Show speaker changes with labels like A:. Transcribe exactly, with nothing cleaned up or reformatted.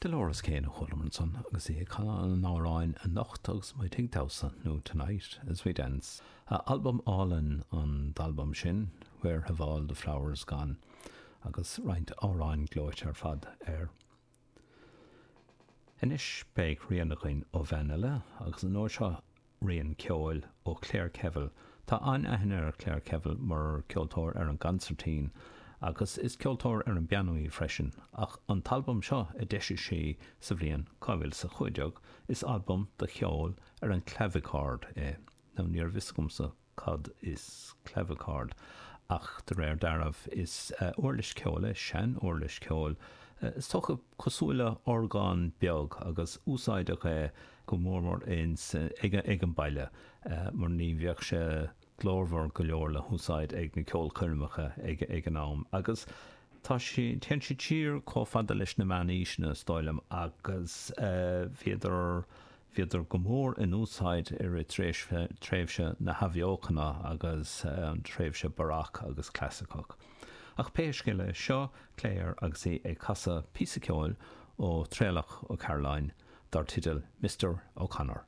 A: Dolores Keane a chualamar ansan agus í ag canadh an amhráin Anocht agus Muid ag Damhsa nó Tonight as We Dance. Albam álainn an t-albam sin, Where Have All the Flowers Gone, agus roinnt amhráin gleoite ar fad air. Anois beidh rian againn ó bhean eile agus an uair seo rian ceoil ó Claire Kevill. Tá an-aithne ar Claire Kevill mar ceoltóir ar an gconsairtín agus is ceoltóir ar an bpianó í freisin, ach an t-albam seo a d'eisigh sí sa bhliain dhá mhíle is a cúig déag, is albam de cheol ar an clavichord é. Now ní raibh fhios agamsa cad is clavichord, ach de réir dealraimh is uirlis ceoil é, sean-uirlis ceoil, is dócha cosúil le orgán beag agus úsáideadh é go mór mór ins ag ag an baile mar ní bheadh sé glórmhar go leor le húsáid ag na ceolchoirmeacha ag ag an am agus tá sí téann siad siar chomh fada leis na meánaoiseanna is dóigh liom agus bhíodar bhíodar go mór in úsáid i rith tréimhse tréimhse na hathbheochana agus an tréimhse Baroque agus clasaiceach. Ach pé scéal é seo Claire agus í ag casadh píosa ceoil ó Thraolach Ó Cairealláin dar teideal Mister O'Connor.